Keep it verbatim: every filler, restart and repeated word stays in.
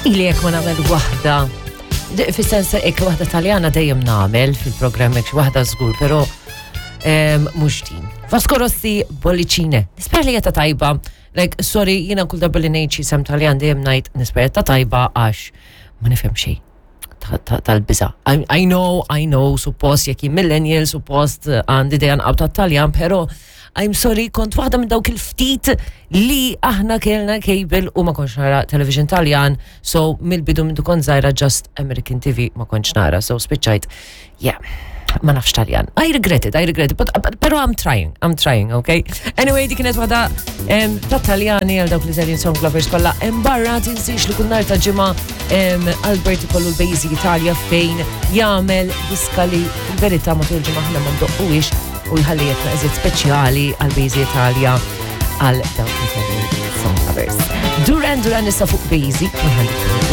Ili jekk ma nagħmel waħda. Fis-sens hekk waħda Taljana dejjem nagħmel fil-programm hekk waħda żgur, però mhux din. Vasco Rossi, Bollicine. Nispera li ta' tajba. Like, sorry, jiena kull darba li ngħid xi isem Taljan dejjem ngħid nispera ta' tajba għax ma nifhem xejn tal-biża. I, I know, I know, suppost jekk jien millennial, suppost għandi dejjem għaw ta' Taljan, pero I'm sorry, kont waħda minn dawk il-ftit li aħna kellna cable u ma kontx nara television Taljan, so mill-bidu minn kont żgħira just American T V ma kontx nara, so spiċċajt, yeah, ma nafx Taljan. I regret it, I regret it, but, but, pero I'm trying, I'm trying, okay? Anyway, dik kienet waħda em, ta' Taljani għal dawk li song lovers kollha. Em barra tinsix li kull nhar ta' Ġimgħa em, Albert ikollu l-Bejzi Italia fejn jagħmel diska li fil-verità matul ġimgħa aħna ma ndoqquhiex u jħalli jetna eżiet speċjali għal Bejzi Italia għal dawk li song lovers. Duran Duran issa fuq Bejzi one hundred.